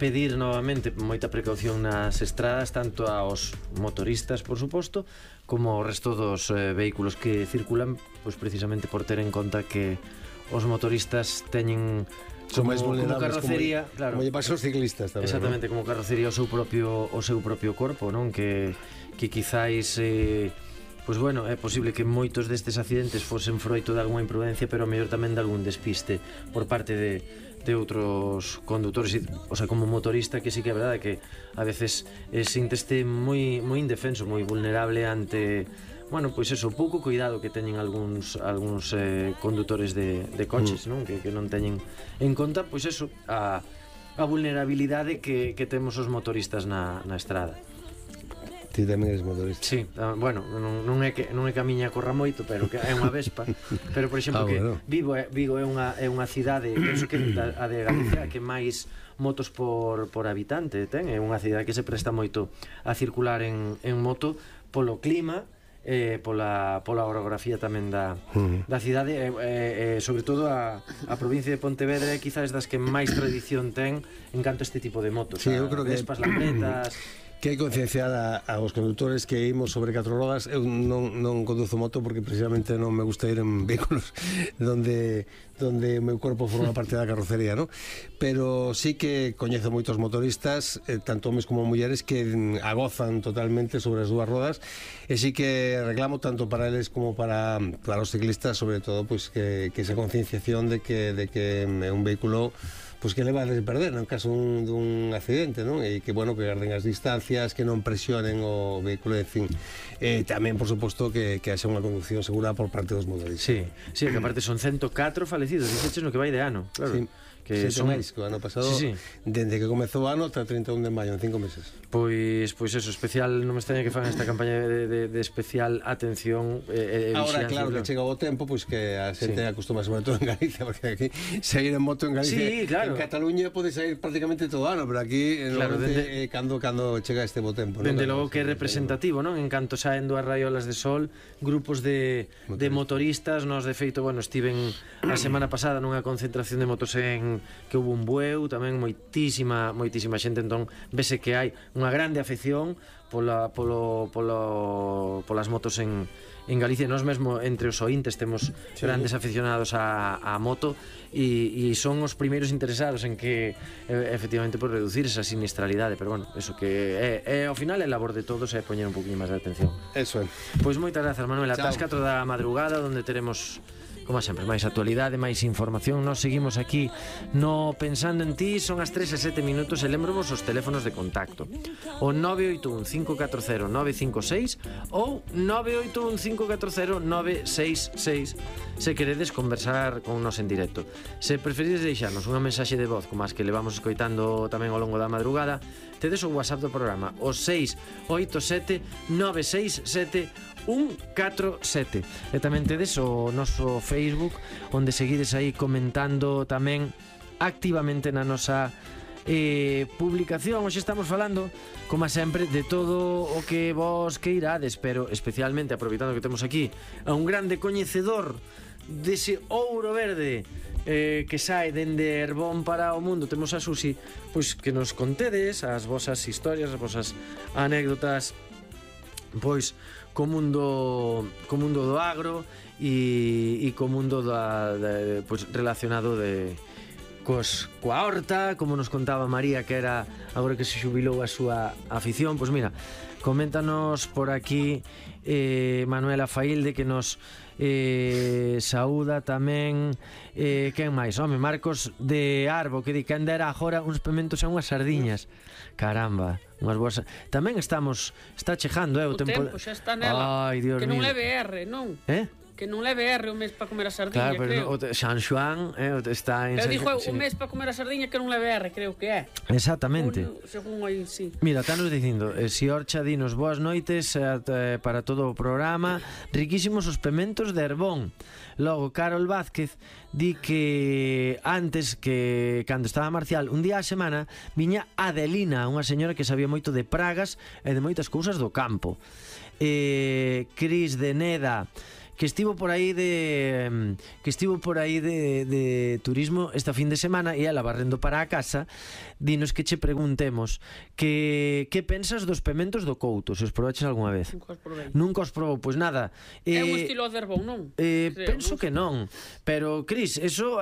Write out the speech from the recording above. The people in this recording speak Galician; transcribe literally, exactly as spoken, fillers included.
pedir novamente moita precaución nas estradas, tanto aos motoristas, por suposto, como ao resto dos eh, vehículos que circulan, pois precisamente por ter en conta que os motoristas teñen son como, máis vulnerables, como carrocería, como, claro. como lle pasa aos ciclistas tamén, exactamente, ¿no? como carrocería o seu propio o seu propio corpo, non? Que que quizáis eh, pois bueno, é posible que moitos destes accidentes fosen froito de algunha imprudencia, pero a mellor tamén de algún despiste por parte de de outros condutores, o sea, como motorista, que sí que é verdade que a veces eh, sinteste moi moi indefenso, moi vulnerable ante, bueno, pois eso, pouco cuidado que teñen algúns algúns eh, condutores de, de coches, mm. non? Que, que non teñen en conta, pois eso, a, a vulnerabilidade que, que temos os motoristas na, na estrada. Ti tamén eres motorista. Sí, bueno, non, non é que non é que a miña corra moito, pero que é unha Vespa. Pero por exemplo, ah, que bueno. Vigo é Vigo é unha é unha cidade, penso que a de Galicia que máis motos por por habitante ten, é unha cidade que se presta moito a circular en en moto polo clima, eh, pola, pola orografía tamén da, uh-huh. da cidade, e eh, eh, sobre todo a, a provincia de Pontevedra é quizás das que máis tradición ten en canto a este tipo de motos. Sí, eu creo que Vespas, Lambretas. Que hai concienciar a, aos conductores que imos sobre catro rodas. Eu non, non conduzo moto porque precisamente non me gusta ir en vehículos donde donde o meu corpo forma parte da carrocería, ¿no? Pero sí que coñezo moitos motoristas, eh, tanto homes como mulleres, que agozan totalmente sobre as dúas rodas, e sí que reclamo tanto para eles como para, para os ciclistas, sobre todo, pues, que, que esa concienciación de que, de que é un vehículo pois que leva a perder no caso dun, dun accidente, non? E que, bueno, que garden as distancias, que non presionen o vehículo, en fin. E tamén, por suposto, que, que haxa unha conducción segura por parte dos motoristas. Sí, sí, que aparte son ciento catro falecidos, dixeches no que vai de ano, claro. Sí. Que son máis que o ano pasado, sí, sí. Dende que comezou o ano ata trinta e un de maio, en cinco meses. Pois pois eso, especial, non me extraña que fan esta campaña de, de, de especial atención eh, Ahora, claro, que chega o tempo, pois que a xente sí. acostuma, sobre todo en Galicia, porque aquí sair en moto en Galicia, sí, claro. En Cataluña pode sair prácticamente todo o ano, pero aquí claro, dende, eh, cando, cando chega este bo tempo, dende logo que é representativo, non? En canto saen dúas raiolas de sol, grupos de, de motoristas, nós de feito, bueno, estiven a semana pasada nunha concentración de motos en que hubo un bueu, tamén moitísima moitísima xente, entón vese que hai unha grande afección pola, polo, polo, polas motos en, en Galicia. Nós mesmo entre os ointes temos sí. grandes aficionados a, a moto e, e son os primeiros interesados en que efectivamente por reducir esa sinistralidade, pero bueno, eso que é, é ao final é labor de todos é poñer un poquinho máis de atención. Eso é. Pois moitas grazas, Manuel, ata as catro da madrugada, onde teremos, como sempre, máis actualidade, máis información. Nós seguimos aquí no Pensando en Ti. Son as tres e sete minutos e lembrovos os teléfonos de contacto: o nove oito un cinco catro cero nove cinco seis ou nove oito un cinco catro cero nove seis seis se queredes conversar con nos en directo. Se preferides deixarnos unha mensaxe de voz como as que levamos escoitando tamén ao longo da madrugada, tedes o WhatsApp do programa, o seis oito sete nove seis sete un catro sete, e tamén tedes o noso Facebook, onde seguides aí comentando tamén activamente na nosa eh, publicación. Hoxe estamos falando, como sempre, de todo o que vos queirades, pero especialmente aproveitando que temos aquí a un grande coñecedor dese ouro verde eh, que sae dende Herbón para o mundo. Temos a Susi, pois que nos contedes as vosas historias, as vosas anécdotas, pois co mundo co mundo do agro e, e co mundo da, de, pois, relacionado de cos, coa horta, como nos contaba María, que era agora que se xubilou a súa afición. Pois mira, coméntanos por aquí eh, Manuela Failde, que nos eh, saúda tamén eh, quen máis? Home, Marcos de Arbo, que di que anda era agora uns pementos e unhas sardiñas. Caramba, unhas boas. Tamén estamos, está chegando, eh, o, o tempo, tempo xa está nela. Ai, Dios que non mío. leve R, non? Eh? Que non leve R o mes para comer a sardiña, claro, pero creo. No, San Xoán eh, está en Pero San... dixo sí. o mes para comer a sardiña que non leve R, creo que é. Exactamente. Un, según aí, sí. Mira, está nos dicindo, eh, si Orcha dinos boas noites eh, para todo o programa. Riquísimos os pementos de Herbón. Logo, Carol Vázquez di que antes, que cando estaba Marcial, un día a semana viña Adelina, unha señora que sabía moito de pragas e de moitas cousas do campo. eh, Cris de Neda, que estivo por aí de que estivo por aí de, de turismo esta fin de semana e ela barrendo para a casa, dinos que che preguntemos que que pensas dos pementos do Couto, se os probaches algunha vez. Nunca os probei. Nunca os probou, pois nada. É un Eh, estilo de herbón, non? Eh, Creo, penso non? que non, pero Cris, eso